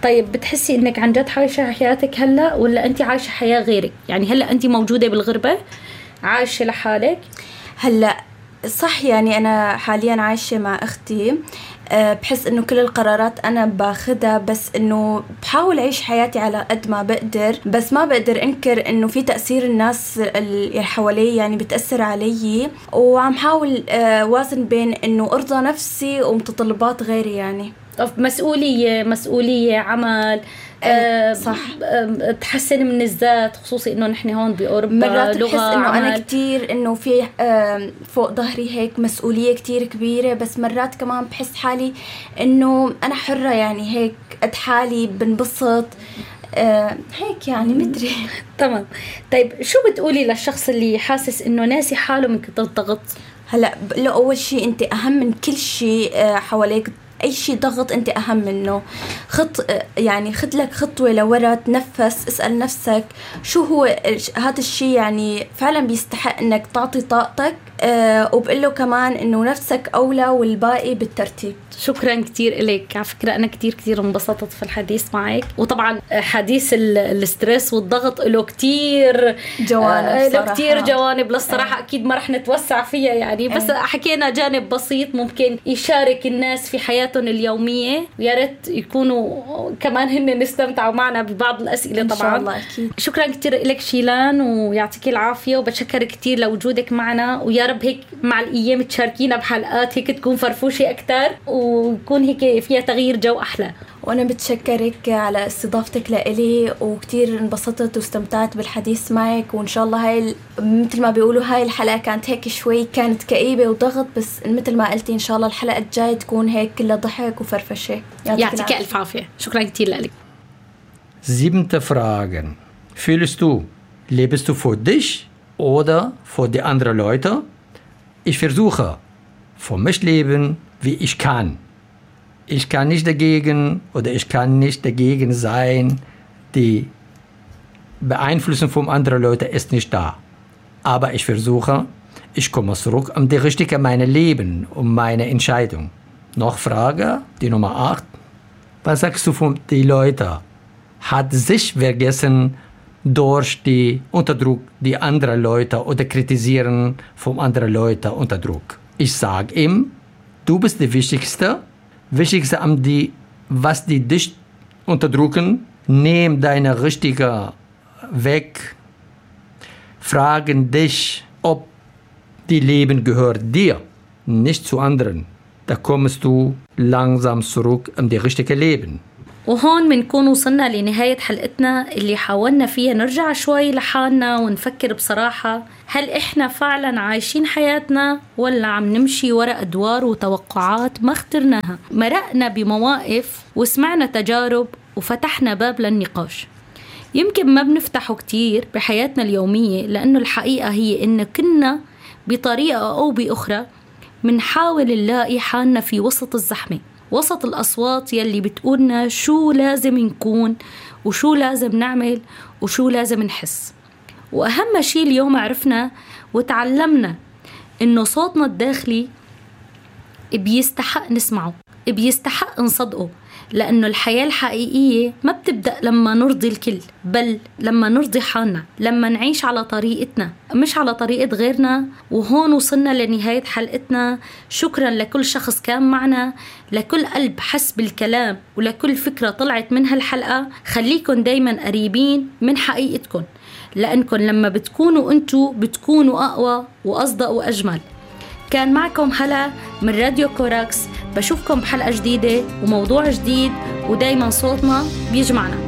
طيب بتحسي إنك عن جد عايشة حياتك هلأ ولا أنت عايشة حياة غيرك؟ يعني هلأ أنت موجودة بالغربة عايشة لحالك؟ هلأ صح، يعني أنا حاليا عايشة مع أختي. بحس إنه كل القرارات أنا باخدها، بس إنه بحاول أعيش حياتي على قد ما بقدر، بس ما بقدر أنكر إنه في تأثير الناس اللي حوالي يعني بتأثر علي، وعم حاول وازن بين إنه أرضى نفسي ومتطلبات غيري. يعني مسؤولية عمل صح، تحسن من الذات، خصوصي انه نحن هون باوروبا مرات لغة بحس انه عمل. انا كتير انه في فوق ظهري هيك مسؤولية كتير كبيرة، بس مرات كمان بحس حالي انه انا حرة، يعني هيك قد حالي بنبسط هيك، يعني مدري. تمام. طيب شو بتقولي للشخص اللي حاسس انه ناسي حاله من كتر الضغط؟ هلا اول شيء انت اهم من كل شيء حواليك. أي شيء ضغط أنت أهم منه. يعني خد لك خطوة لورا، تنفس، اسأل نفسك شو هو هذا الشيء يعني فعلا بيستحق أنك تعطي طاقتك، وبقول له كمان أنه نفسك أولى والباقي بالترتيب. شكرا كتير إليك. على فكرة أنا كتير انبسطت في الحديث معك، وطبعا حديث الستريس والضغط له كتير جوانب للصراحة. أكيد ما رح نتوسع فيها يعني، بس حكينا جانب بسيط ممكن يشارك الناس في حياتهم اليومية، ويا ريت يكونوا كمان هن نستمتعوا معنا ببعض الأسئلة طبعا. إن شاء الله أكيد. شكرا كتير إليك شيلان، ويعطيك العافية، وبتشكر كتير لوجودك معنا، ويا رب هيك مع الأيام تشاركينا بحلقات هيك تكون فرفوشة أكتر، ويكون هيك فيها تغيير جو أحلى. وأنا بتشكرك على استضافتك لإلي، وكتير انبسطت واستمتعت بالحديث معك. وإن شاء الله هاي مثل ما بيقولوا هاي الحلقة كانت هيك شوي كانت كئيبة وضغط، بس مثل ما قلتي إن شاء الله الحلقة الجاية تكون هيك كلها ضحك وفرفشة. يعطيك ألف عافية. شكرا كتير لك. 7. Fragen. Fühlst du, lebst du für dich oder für die anderen Leute? Ich versuche, für mich leben, wie ich kann. Ich kann nicht dagegen oder ich kann nicht dagegen sein. Die Beeinflussung von anderen Leuten ist nicht da. Aber ich versuche, ich komme zurück um die richtige meine Leben, um meine Entscheidung. Noch Frage, die Nummer 8. Was sagst du von den Leuten? Hat sich vergessen durch die Unterdruck die anderen Leute oder kritisieren von anderen Leuten unter Druck? Ich sage ihm, du bist die Wichtigste an die, was die dich unterdrücken, nimm deine richtige Weg, fragen dich, ob die Leben gehört dir, nicht zu anderen. Da kommst du langsam zurück in die richtige Leben. وهون منكون وصلنا لنهاية حلقتنا اللي حاولنا فيها نرجع شوي لحالنا ونفكر بصراحة، هل إحنا فعلا عايشين حياتنا ولا عم نمشي وراء أدوار وتوقعات ما اخترناها؟ مرقنا بمواقف وسمعنا تجارب وفتحنا باب للنقاش يمكن ما بنفتحه كتير بحياتنا اليومية، لأنه الحقيقة هي إن كنا بطريقة أو بأخرى منحاول نلاقي حالنا في وسط الزحمة، وسط الأصوات يلي بتقولنا شو لازم نكون وشو لازم نعمل وشو لازم نحس. وأهم شيء اليوم عرفنا وتعلمنا إنه صوتنا الداخلي بيستحق نسمعه، بيستحق نصدقه، لأنه الحياة الحقيقية ما بتبدأ لما نرضي الكل، بل لما نرضي حالنا، لما نعيش على طريقتنا مش على طريقة غيرنا. وهون وصلنا لنهاية حلقتنا. شكرا لكل شخص كان معنا، لكل قلب حس بالكلام، ولكل فكرة طلعت من هالحلقة. خليكن دايما قريبين من حقيقتكن، لأنكن لما بتكونوا أنتوا بتكونوا أقوى وأصدق وأجمل. كان معكم هلا من راديو كوراكس. بشوفكم بحلقة جديدة وموضوع جديد، ودايما صوتنا بيجمعنا.